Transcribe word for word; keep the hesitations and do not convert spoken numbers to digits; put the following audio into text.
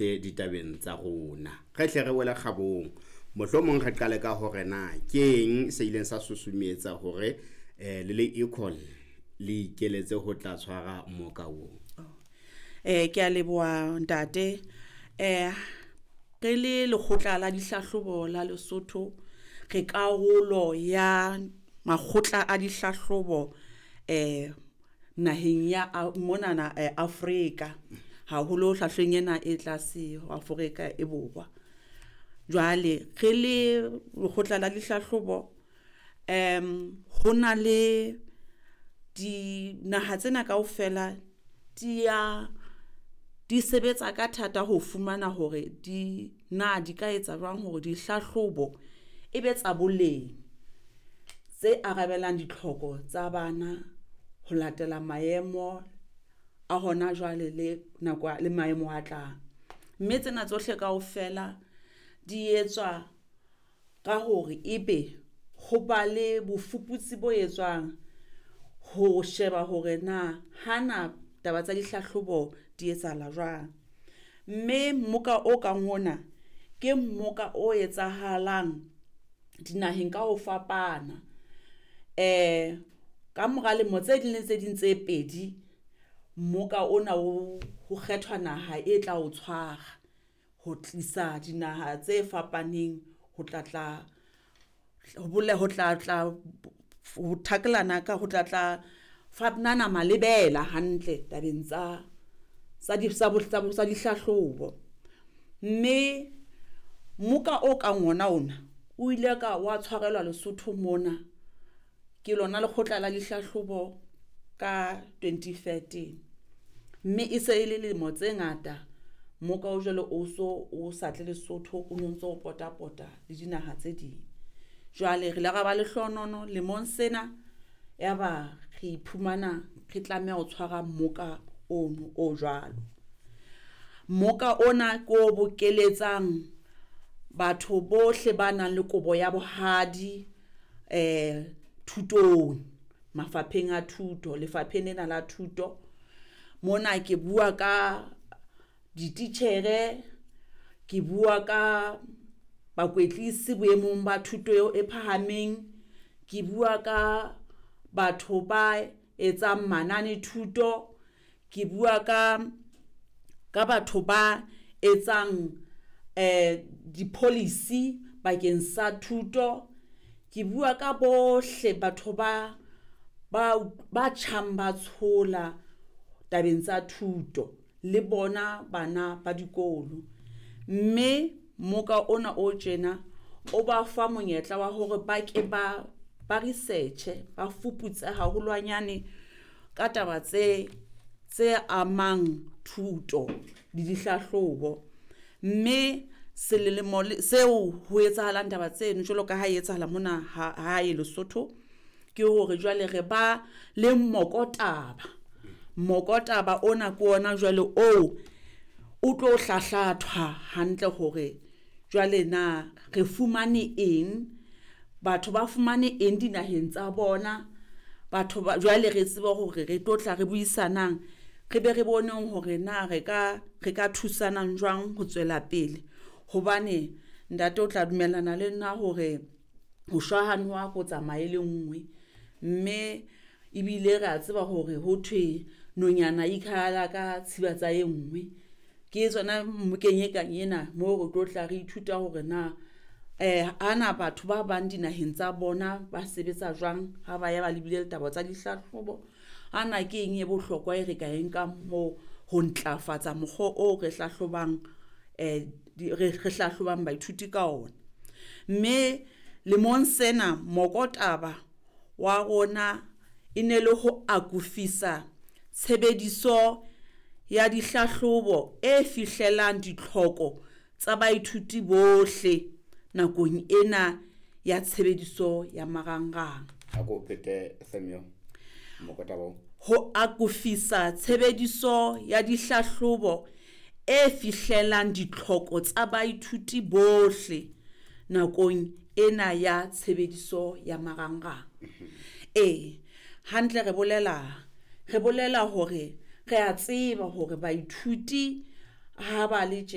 thusitse ditabeng tsa rona. Re hle re wele kgabong. Mohlomong re qale ka hore na keng se ileng sa susumetsa hore eh le le Equal le ikeletse ho tla tshwara mmoka oo. Eh ke a leboha ntate. Eh re le lekgotla la dihlahlobo la Lesotho, re karolo ya makgotla a dihlahlobo eh naheng ya monana Afrika, haholo hlahleng ena e tlase ho Afrika e Borwa. Jwale re le lekgotla la dihlahlobo um ho na le dinaha tsena kaofela di ya di sebetsa ka thata ho fumana hore di na di ka etsa jwang hore dihlahlobo e be tsa boleng tse arabelang ditlhoko tsa bana ho latela maemo a hona jwale le nako le maemo a tlang. Mme tsena tsohle kaofela di etswa ka hore ebe ho ba le bofuputsi bo etswang ho sheba hore na hana taba tsa dihlahlobo di etsahala jwang. Mme mmoka o kang ona ke mmoka o etsahalang dinaheng ka ho fapana. Eh ka mora lemo tse ding le tse ding tse pedi, mmoka ona o ho kgethwa naha e tla o tshwara ho tlisa dinaha tse fapaneng ho tla tla ho tla tla ho thakelana ka ho tla tla fanana malebela hantle tabeng tsa tsa di tsa tsa dihlahlobo. Mme mmoka o kang ona ona o ile ka wa tshwarelwa Lesotho mona ke lona lekgotla la dihlahlobo ka twenty thirteen. Mme e se e le lemo tse ngata mmoka o jwalo o so o sa tle Lesotho, o no ntso o pota pota le dinaha tse ding. Jwale re ile ra ba lehlohonolo lemong sena, ya ba re iphumana re tlameha ho tshwara mmoka ono o jwalo. Mmoka ona ke o bokeletsang batho bohle ba nang le kobo ya bohadi eh thutong, mafapheng a thuto, lefapheng lena la thuto. Mona ke bua ka dititjhere, ke bua ka bakwetlisi boemong ba thuto eo e phahameng, ke bua ka batho ba etsang manane thuto, ke bua ka ka batho ba etsang eh di-policy bakeng sa thuto. Ke bua ka bohle batho ba ba ba tjhang ba tshola tabeng tsa thuto le bona bana ba dikolo. Mme mmoka ona o tjena o ba fa monyetla wa hore ba ke ba ba research-e, ba fuputse haholwanyane ka taba tse tse amang thuto le dihlahlobo. Mme selemo seo ho etsahalang taba tseno jwalo ka ha e etsahala mona ha hae Lesotho, ke hore jwale re ba le mokotaba. Mokotaba ona ke ona jwale oo o tlo hlahlathwa hantle hore jwale na re fumane eng, batho ba fumane eng dinaheng tsa bona. Batho ba jwale re tsebe hore re tlo tla re buisanang, re be re boneng hore na re ka re ka thusanang jwang ho tswela pele. Hobane ntate o tla dumellana le nna hore ho shwa ha noha ko tsamaye le nngwe. Mme ebile re a tseba hore ho thwe nonyana e ikhahala ka tshiba tsa e nngwe. Ke tsona mmokeng e kang ena moo re tlo tla re ithuta hore na eh ana batho ba bang dinaheng tsa bona ba sebetsa jwang ha ba ya ba lebile ditaba tsa dihlahlobo. Ana ke eng e bohlokwa e re ka e nkang moo ho ntlafatsa mokgwa o re hlahlobang eh re re hlahlobang baithuti ka ona. Mme lemong sena mokotaba wa rona e ne le ho akofisa tshebediso ya dihlahlobo e fihlelang ditlhoko tsa baithuti bohle nakong ena ya tshebediso ya marangrang. A ko phete theme eo, mokotaba oo. Ho akofisa tshebediso ya dihlahlobo e fihlelang ditlhoko tsa baithuti bohle nakong ena ya tshebediso ya marangrang. Ee, hantle re bolela re bolela hore re a tseba hore baithuti ha ba le tje.